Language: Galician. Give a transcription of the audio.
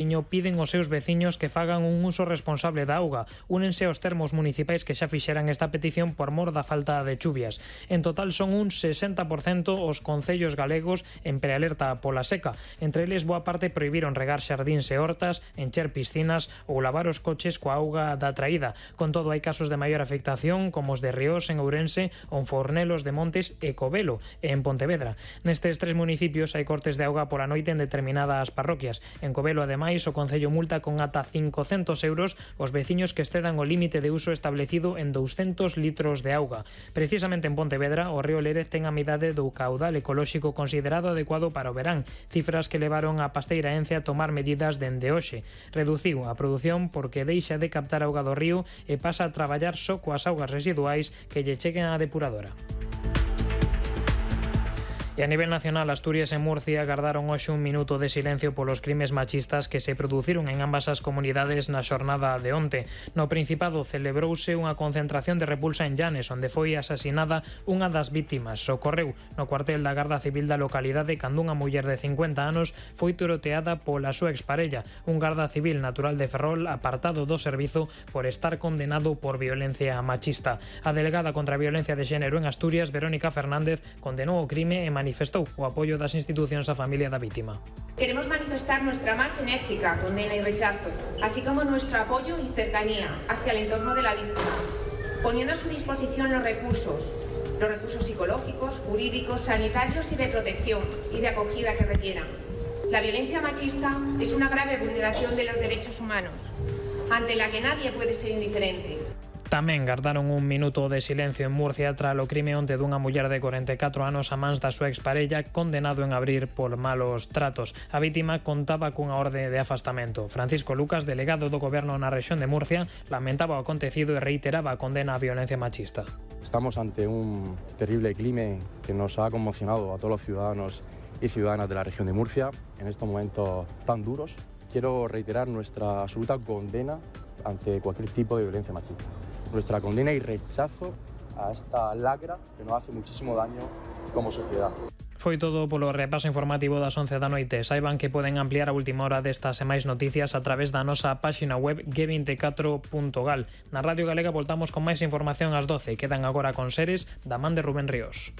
piden aos seus veciños que fagan un uso responsable da auga. Únense aos termos municipais que xa fixeran esta petición por mor da falta de chuvias. En total son un 60% os concellos galegos en prealerta pola seca. Entre eles, boa parte prohibiron regar xardíns e hortas, encher piscinas ou lavar os coches coa auga da traída. Con todo, hai casos de maior afectación como os de Riós en Ourense, Onfornelos de Montes e Covelo en Pontevedra. Nestes 3 municipios hai cortes de auga pola noite en determinadas parroquias. En Covelo, ademais, o Concello multa con ata 500 euros os veciños que excedan o límite de uso establecido en 200 litros de auga. Precisamente en Pontevedra, o río Lérez ten a mitade do caudal ecolóxico considerado adecuado para o verán, cifras que levaron a Pasteira Ence a tomar medidas dende hoxe. Reduciu a produción porque deixa de captar auga do río e pasa a traballar só coas augas residuais que lle cheguen á depuradora. E a nivel nacional, Asturias e Murcia gardaron hoxe un minuto de silencio polos crimes machistas que se produciron en ambas as comunidades na xornada de onte. No Principado celebrouse unha concentración de repulsa en Llanes, onde foi asasinada unha das vítimas. Ocorreu no cuartel da Garda Civil da localidade cando unha muller de 50 anos foi tiroteada pola súa exparella, un garda civil natural de Ferrol apartado do servizo por estar condenado por violencia machista. A delegada contra a violencia de xénero en Asturias, Verónica Fernández, condenou o crime e manifestou o apoio das institucións á familia da vítima. Queremos manifestar nuestra más enérgica condena y rechazo, así como nuestro apoyo y cercanía hacia el entorno de la víctima, poniendo a su disposición los recursos psicológicos, jurídicos, sanitarios y de protección y de acogida que requieran. La violencia machista es una grave vulneración de los derechos humanos, ante la que nadie puede ser indiferente. Tamén gardaron un minuto de silencio en Murcia tras o crime onte dunha muller de 44 anos a mans da súa exparella condenado en abrir por malos tratos. A vítima contaba cunha orde de afastamento. Francisco Lucas, delegado do Goberno na rexión de Murcia, lamentaba o acontecido e reiteraba a condena á violencia machista. Estamos ante un terrible crimen que nos ha conmocionado a todos los ciudadanos y ciudadanas de la región de Murcia en estos momentos tan duros. Quiero reiterar nuestra absoluta condena ante cualquier tipo de violencia machista. Nuestra condena y rechazo a esta lacra que nos hace muchísimo daño como sociedad. Foi todo polo repaso informativo das 11 da noite. Saiban que poden ampliar a última hora destas e máis noticias a través da nosa páxina web g24.gal. Na Radio Galega voltamos con máis información ás 12. Quedan agora con Seres da man de Rubén Ríos.